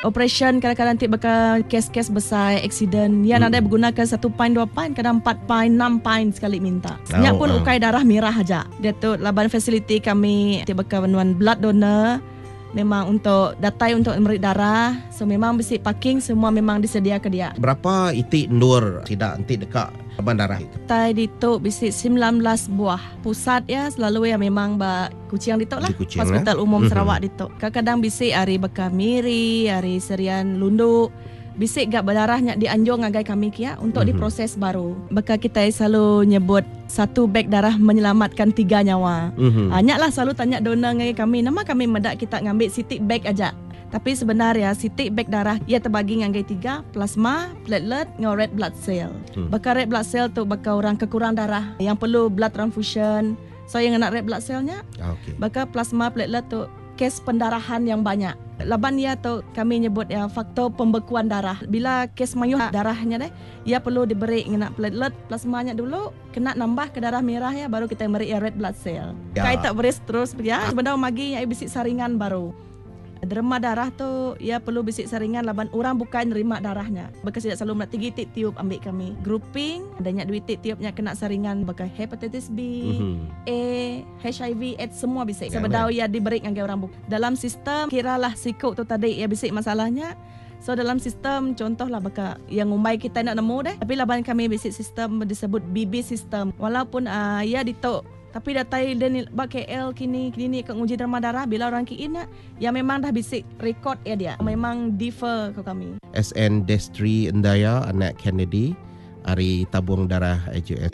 Operation kadang-kadang ti baka kes-kes besai accident iya nadai begunaka satu pint dua pint kadang empat pint enam pint sekali minta. Nya pun ukai darah mirah aja. Diatu laban fasiliti kami ti baka nuan blood donor memang untuk datai untuk meri darah so memang bisi parking semua memang disediaka dia. Berapa iti endur sida enti deka raban darah itu? Kitai ditu bisi 19 buah pusat iya selalu iya memang ba Kuching ditu lah, Di Kuching, Hospital eh? Umum Sarawak ditu. Kadang-kadang bisi ari baka Miri, ari Serian Lundu, bisi ga bedarah nya dianjung ngagai kami kia untuk diproses baru. Baka kitai selalu nyebut satu beg darah menyelamatkan tiga nyawa. Ah nya lah selalu tanya donor ngagai kami, nama kami meda kita ngambi siti beg aja. Tapi sebenar iya siti beg darah iya tebagi ngagai tiga, plasma, platelet enggau red blood cell. Baka red blood cell tu baka orang ke kurang darah yang perlu blood transfusion. So iya ngena red blood cell nya. Okay. Baka plasma platelet tu kes pendarahan yang banyak. Laban iya tu kami nyebut iya faktor pembekuan darah. Bila kes mayuh darah nya deh, iya perlu diberi ngena platelet plasma nya dulu kena nambah ke darah merah iya baru kitai meri iya red blood cell. Ya. Kai tak beris terus pia sebedau magi nya iya bisi saringan baru. Derma darah tu iya perlu bisi saringan laban orang bukai nerima darah nya. Baka sida selalu meda tiga iti tiub ambi kami. Grouping, udah nya dua iti tiub nya kena saringan baka hepatitis B, A, HIV, AIDS semua bisi sebedau iya diberi ngagai orang bukai. Dalam sistem kira lah siku tu tadi iya bisi masalah nya. So dalam sistem contoh lah baka iya ngumbai kitai enda nemu deh tapi laban kami bisi sistem disebut BB system walaupun aaa iya ditu Tapi datai dia ni ba KL kini kini ka nguji derma darah bila orang kiin nya ya memang dah bisi record iya dia memang defer ko kami. SN Destry Endaya anak Kennedy ari Tabung Darah AJS.